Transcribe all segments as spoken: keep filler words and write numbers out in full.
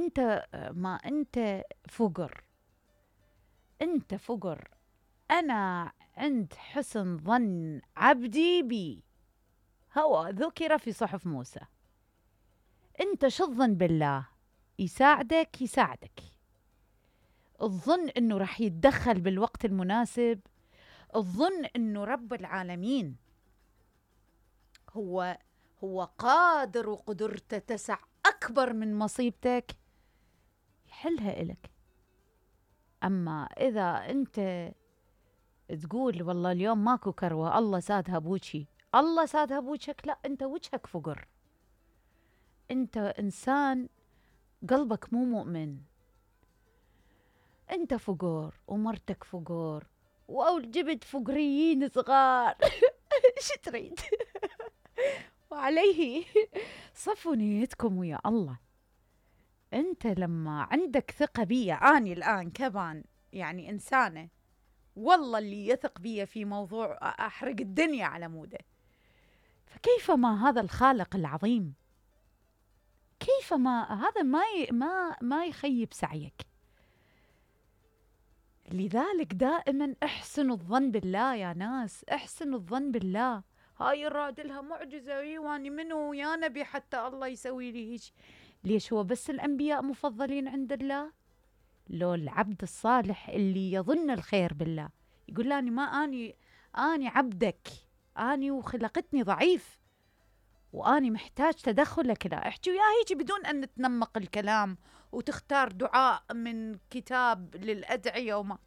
انت ما انت فقر، انت فقر. انا عند حسن ظن عبدي بي، هو ذكر في صحف موسى. انت شو الظن بالله؟ يساعدك يساعدك، الظن انه راح يتدخل بالوقت المناسب، الظن انه رب العالمين هو هو قادر وقدرته تسع اكبر من مصيبتك، يحلها إلك. اما اذا انت تقول والله اليوم ماكو كروه، الله سادها بوجهي، الله سادها بوجهك، لا، انت وجهك فقر، انت انسان قلبك مو مؤمن، انت فقر ومرتك فقر وجبت فقريين صغار. ايش تريد؟ وعليه صفوا نيتكم ويا الله. انت لما عندك ثقة بي، اني الان كمان يعني انسانة والله اللي يثق بي في موضوع احرق الدنيا على موده، فكيف ما هذا الخالق العظيم، كيف ما هذا ما ي... ما ما يخيب سعيك. لذلك دائما احسنوا الظن بالله يا ناس، احسنوا الظن بالله. هاي الراد لها معجزة، واني منو يا نبي حتى الله يسوي لي هيك؟ ليش هو بس الانبياء مفضلين عند الله؟ لو العبد الصالح اللي يظن الخير بالله يقول لاني ما اني اني عبدك، اني وخلقتني ضعيف واني محتاج تدخلك، لا احكي وياه هيك بدون ان نتنمق الكلام وتختار دعاء من كتاب للادعيه وما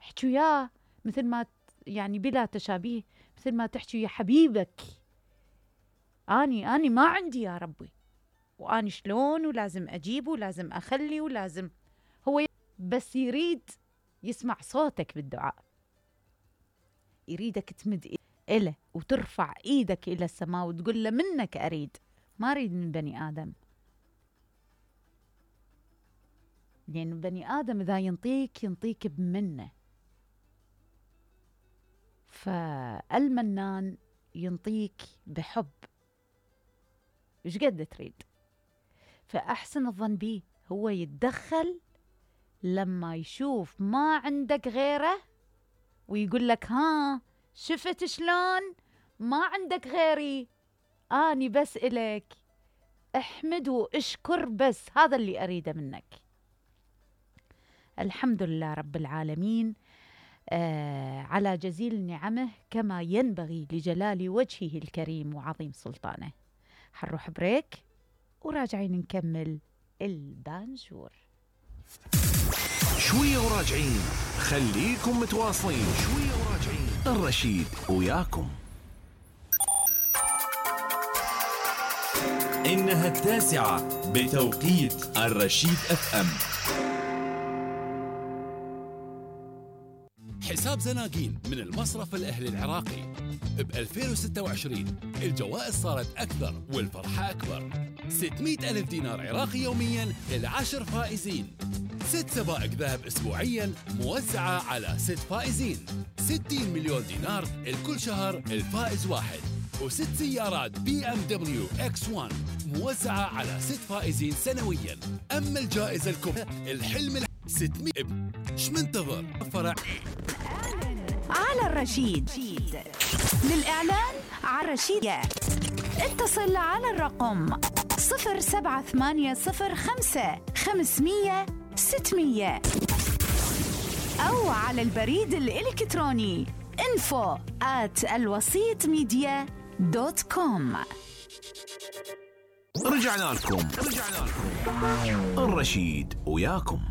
احكي وياه مثل ما يعني بلا تشابيه، مثل ما تحكي يا حبيبك. اني اني ما عندي يا ربي، واني شلون ولازم اجيبه ولازم اخلي ولازم، هو بس يريد يسمع صوتك بالدعاء، يريدك تمد إله وترفع إيدك إلى السماء وتقول له منك أريد، ما أريد من بني آدم. لأن بني آدم إذا ينطيك ينطيك بمنه، فالمنان ينطيك بحب إيش قد تريد. فأحسن الظن بيه، هو يتدخل لما يشوف ما عندك غيره ويقول لك ها شفت شلون ما عندك غيري، اني بس الك احمد واشكر، بس هذا اللي اريده منك. الحمد لله رب العالمين آه على جزيل نعمه كما ينبغي لجلال وجهه الكريم وعظيم سلطانه. حنروح بريك وراجعين نكمل البانجور. شوية وراجعين، خليكم متواصلين. شوية وراجعين، الرشيد وياكم. إنها التاسعة بتوقيت الرشيد اف ام. حساب زناقين من المصرف الأهلي العراقي ب ألفين وستة وعشرين الجوائز صارت أكثر والفرحة أكبر. ستمئة ألف دينار عراقي يومياً للعشر فائزين، ست سبائك ذهب أسبوعياً موزعة على ست فائزين، ستين مليون دينار الكل شهر الفائز واحد، وست سيارات بي ام دبليو اكس واحد موزعة على ست فائزين سنوياً. أما الجائزة الكبرى الحلم الح... ستمئة ايش منتظر؟ فرع على الرشيد. للإعلان على الرشيد اتصل على الرقم صفر سبعة ثمانية صفر خمسة خمسمية ستمية أو على البريد الإلكتروني info at الوسيط ميديا دوت كوم. رجعنا لكم رجعنا لكم الرشيد وياكم.